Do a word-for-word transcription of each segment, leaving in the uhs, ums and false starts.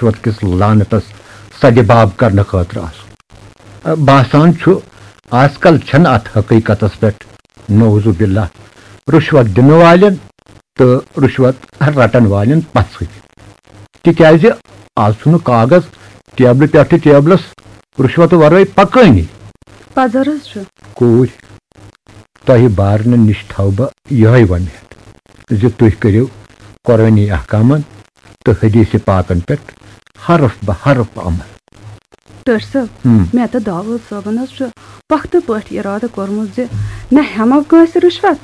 رُشوت کِس لعنتس سدِ باب کرنہٕ خٲطرٕ آسُن۔ باسان چھُ، آز کل چھنہٕ اتھ حقیقتس پٮ۪ٹھ، نعوذ باللہ، رُشوت دِنہٕ والٮ۪ن تہٕ رُشوت رٹن والٮ۪ن پژھٕے، تِکیازِ آز چھُنہٕ کاغذ ٹیبلہٕ پٮ۪ٹھٕ ٹیبلس رُشوت ورٲے پکٲنی۔ پزر حظ چھُ۔ کوٗرۍ، تۄہہِ بارنہٕ نِش تھاوٕ بہٕ یِہوٚے وۄمید زِ تُہۍ کٔرِو قرٲنی احکامن تہٕ حدیث پاکن پٮ۪ٹھ حرف بہ حرف عمل۔ ٹٲٹھۍ صٲب، ہم۔ مےٚ تہٕ داوود صٲبن حظ چھُ پۄختہٕ پٲٹھۍ ارادٕ کوٚرمُت زِ نہ ہٮ۪مو کٲنٛسہِ رُشوت،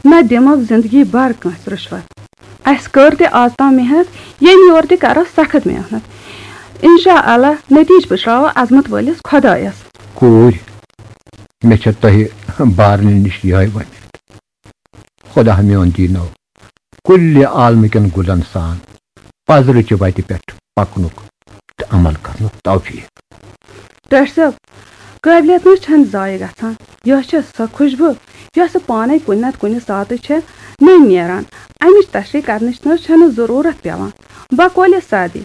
نہ دِمو زندگی بھر کٲنٛسہِ رُشوت۔ اسہِ کٔر تہِ آز تام محنت، ییٚمہِ یورٕ تہِ کرو سخت محنت۔ انشاء اللہ نتیجہٕ پُشراوو عظمت وٲلِس خۄدایس۔ کوٗرۍ، مےٚ چھےٚ تۄہہِ بارنہٕ نِش یِہوٚے وۄمید۔ خۄدا میون دیٖنو کُلہِ عالمہٕ کٮ۪ن گُلن سان پزرٕچہِ وتہِ پٮ۪ٹھ پکنُک تہٕ عمل کرنُک توفیق۔ ٹٲٹھۍ صٲب، قٲبلیت نہٕ چھنہٕ ضایع گژھان۔ یۄس چھےٚ سۄ خوشبو، یۄس پانے کُنہِ نتہٕ کُنہِ ساتہٕ چھےٚ نٔنۍ نیران۔ امِچ تشریح کرنٕچ نہٕ چھنہٕ ضروٗرت پٮ۪وان۔ بقولِ سعدی،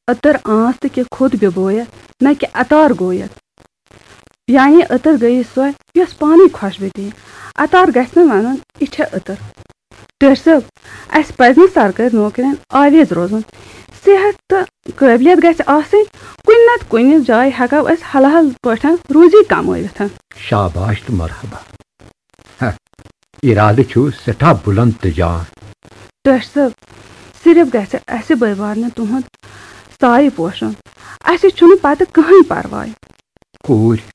عطر آنس تہٕ کہ خود ببویت، نہ کہ عطار گویت۔ یعنی عطر گٔیے سۄ، یۄس پانے خۄشبوٗ دِیہِ۔ عطار گژھِ نہٕ ونُن، یہِ چھےٚ عطر۔ ٹٲٹھۍ صٲب، اسہِ پزِ نہٕ سرکٲرۍ نوکرین آویز روزُن۔ صحت تہٕ قٲبلیت گژھِ آسٕنۍ۔ کُنہِ نتہٕ کُنہِ جایہِ ہٮ۪کو أسۍ حلال پٲٹھۍ روزی کمٲوِتھ۔ شاباش تہٕ مرحبا۔ ہہ، ارادٕ چھُ سٮ۪ٹھاہ بُلند تہٕ جان۔ ٹٲٹھۍ صٲب، صرف گژھِ اسہِ بٲے بارنہِ تُہُنٛد سایہِ پوشُن۔ اسہِ چھُنہٕ پتہٕ کٕہٕنۍ پرواے۔ کوٗرۍ،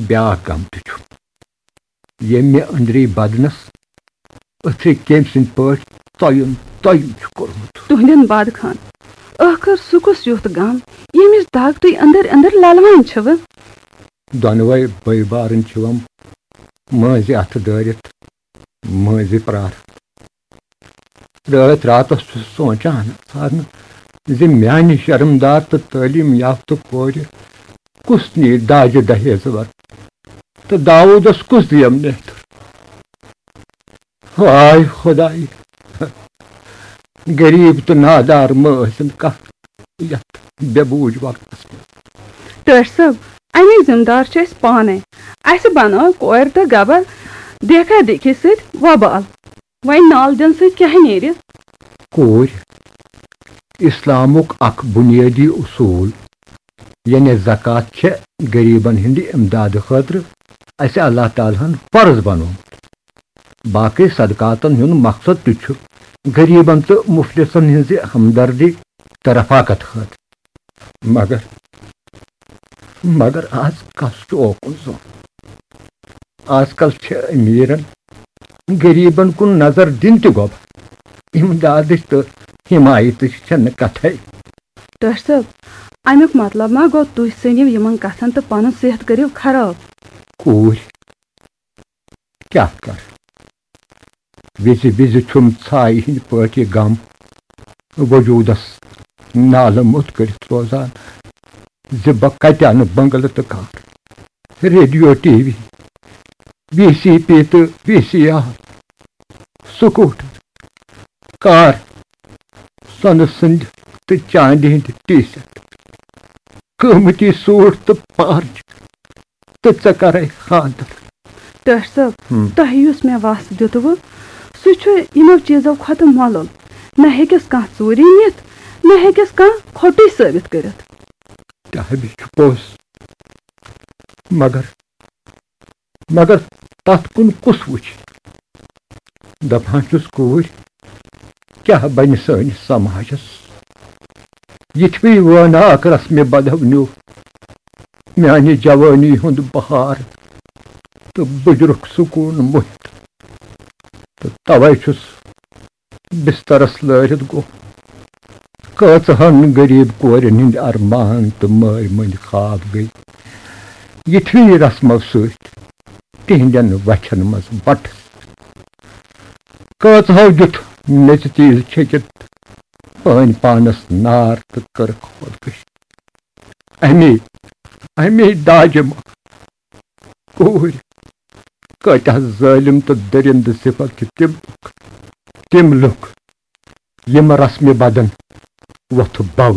بیاکھ غم تہِ چھُ، ییٚمہِ مےٚ أنٛدری بدنس أتھرِ کیمۍ سٕنٛدۍ پٲٹھۍ ژۄیُن ژۄیُن چھُ کوٚرمُت۔ تُہنٛدٮ۪ن بد خان، ٲخٕر سُہ کُس یُتھ غم، ییٚمِچ دگ تُہۍ أنٛدٕرۍ أنٛدٕرۍ للوان چھِوٕ؟ دۄنوَے بٲے بارٕنۍ چھِوم مٲنٛزِ اَتھٕ دٲرِتھ مٲنٛزِ پرٛاران۔ رٲتۍ راتس چھُس سونٛچان ژھارنہٕ زِ میانہِ شرمدار تہٕ تعلیٖم یافتہٕ کورِ کُس نِیہِ داجہِ دہیز ورٲے تہٕ داوٗدس کُس دِیم نیتر۔ ہاے خۄداے، غریٖب تہٕ نادار مہٕ ٲسِن کانٛہہ یتھ بے بوٗج وقتس منٛز۔ ٹٲٹھۍ صٲب، اَمِکۍ ذمہٕ دار چھِ أسۍ پانے۔ اَسہِ بنٲو کورِ تہٕ گبر دیکھا دیکھی سۭتۍ وبال۔ وۄنۍ نال دِنہٕ سۭتۍ کیٛاہ نیرِ؟ کوٗرۍ، اسلامُک اکھ بنیٲدی اصوٗل، یعنی زکوٰۃ، چھےٚ غریبن ہٕنٛدِ امدادٕ خٲطرٕ اسہِ اللہ تعالیٰ ہن فرض بنومُت۔ باقٕے صدقاتن ہُنٛد مقصد تہِ چھُ غریبن تہٕ مفلسن ہٕنٛزِ ہمدردی تہٕ رفاقت خٲطرٕ۔ مگر، مگر آز کس چھُ اوکُن زوٚن؟ آز کل چھِ امیرن غریبن کُن نظر دِنۍ تہِ گۄبہ۔ امدادٕچ تہٕ حمایتٕچ چھنہٕ کتھے۔ ٹٲٹھۍ صٲب، امیُک مطلب ما گوٚو تُہۍ سٔنِو یِمن کتھن تہٕ پنُن صحت کٔرِو خراب؟ کوٗرۍ، کیٛاہ کر؟ وِزِ وِزِ چھُم ژھایہِ ہٕنٛدۍ پٲٹھۍ یہِ غم وجوٗدس نالہٕ موٚت کٔرِتھ روزان زِ بہٕ کتہِ انہٕ بنگلہٕ تہٕ car, radio, T V, V C P تہٕ V C R, scooter, car, سۄنہٕ سٕنٛدۍ تہٕ چاندِ ہٕنٛدۍ ٹی سیٹ، قۭمتی سوٗٹ تہٕ پارچہِ، تہٕ ژٕ کرے خانٛدر۔ ٹٲٹھۍ صٲب، ہم۔ تۄہہِ یُس مےٚ وس دیُتوٕ، سُہ چھُ یِمو چیٖزو کھۄتہٕ مۄلُل۔ نہ ہیٚکٮ۪س کانٛہہ ژوٗرِ نِتھ، نہ ہیٚکٮ۪س کانٛہہ کھوٹُے ثٲبت کٔرِتھ۔ تہِ ہا چھُ پوٚز، مگر، مگر تتھ کُن کُس وٕچھِ؟ دپان چھُس، کوٗرۍ، کیٛاہ بنہِ سٲنِس سماجس؟ یِتھوٕے وٲناکھ رسمِ بدو نیوٗ میانہِ جوٲنی ہُنٛد بہار تہٕ بُجرُک سکوٗن مُہِتھ۔ تہٕ توے چھُس بسترس لٲرِتھ گوٚو۔ کٲژہن غریٖب کورٮ۪ن ہٕنٛدۍ ارمان تہٕ مٲلۍ مٔنٛدۍ خواب گٔے یِتھوٕے رسمو سۭتۍ تِہنٛدٮ۪ن وچھن منٛز بٹس۔ کٲژہو دیُت میژِ تیٖل چھٔکِتھ پٲنۍ پانس نار تہٕ کٔرٕکھ خودکشی۔ امی، امی داجہِ منٛز کوٗرۍ۔ کۭتیاہ ظٲلِم تہٕ دٔرِندٕ صفت چھِ تِم لُکھ، تِم لُکھ، یِم رسمِ بدن وۄتھٕ باوجود